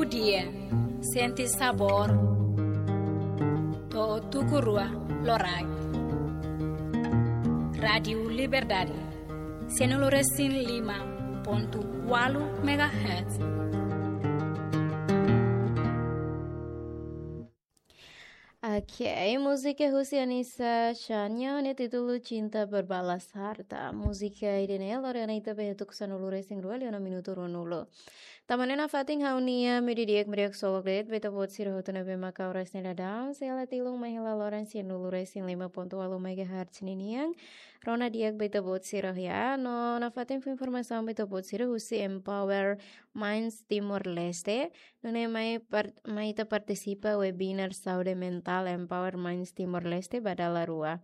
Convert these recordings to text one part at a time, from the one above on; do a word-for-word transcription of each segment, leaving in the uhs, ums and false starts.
Dia, sente sabór. To'o tuku rua loraik. Rádiu Liberdade, sianulu resin lima pontu ualu megahertz. Ok, múzika husi Anissa Chania, nia títulu Cinta Berbalas Harta. Múzika ida-ne'e lori ona ita ba iha tuku sanulu resin rua liu ona minutu ruanulu. Tanba ne'e nafatin ha'u-nia meiudia di'ak, meiudia ksolok de'it ba ita-boot sira hotu ne'ebé mak oras ne'e daudaun, sei la tilun mai hela loron sianulu resin lima pontu ualu megahertz ninian. Rona di'ak ba ita-boot sira ya, no nafatin fó informasaun ba ita-boot sira husi Empower Minds Timor-Leste. Nune'e mai par-, mai ita partisipa webinar saúde mentál Empower Minds Timor-Leste ba dala rua.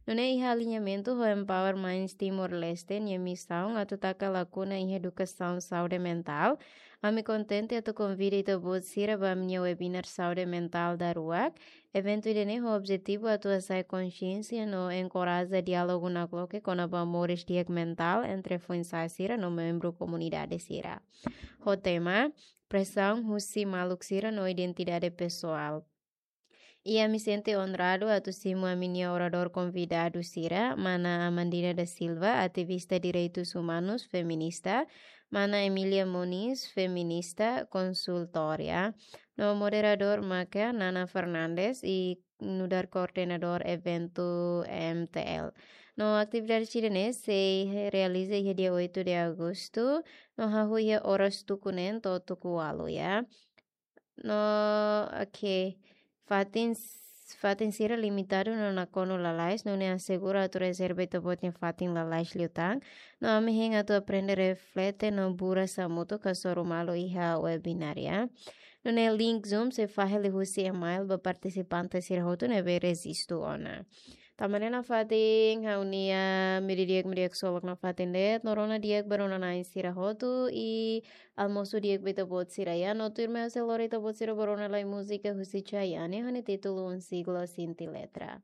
Nune'e iha aliñamentu ho Empower Minds Timor-Leste nia misaun atu taka lakuna iha edukasaun saúde mentál. Ami kontente atu konvida ita-boot sira ba ami-nia webinar saúde mentál daruak. Eventu ida-ne'e ho objetivu atu hasa'e konxiénsia no enkoraja diálogu nakloke kona-ba moris di'ak mentál entre foin-sa'e sira no membru komunidade sira. Ho tema, presaun husi maluk sira no identidade pesoál. I ami sente onradu atu simu ami-nia oradór konvidadu sira, mana Amandina da Silva, ativista direitus umanus, feminista, mana Emilia Moniz, feminista, konsultória. No moderadór maka Nana Fernandes i nu'udar koordenadór eventu M T L. No atividade sira-ne'e sei realiza iha dia oito de agosto, no hahú iha oras tuku neen to'o tuku ualu ya. No, ok. Fatin, fatin sira limitadu no nakonu lalais, nune'e asegura atu rezerva ita-boot nia fatin lalais liután. No ami hein atu aprende, reflete no buras hamutuk hasoru malu iha webinar ya. Nune'e link Zoom sei fahe liuhusi email ba partisipante sira hotu ne'ebé rejistu ona. Tanba ne'e nafatin ha'u-nia meiudia di'ak, meiudia ksolok nafatin de'it, no rona di'ak ba rona-na'in sira hotu i almosu di'ak ba ita-boot sira ya, no tuirmai ha'u sei lori ita-boot sira ba rona lai múzika husi Chayanne ho nia títulu Un Siglo Sin Ti Letra.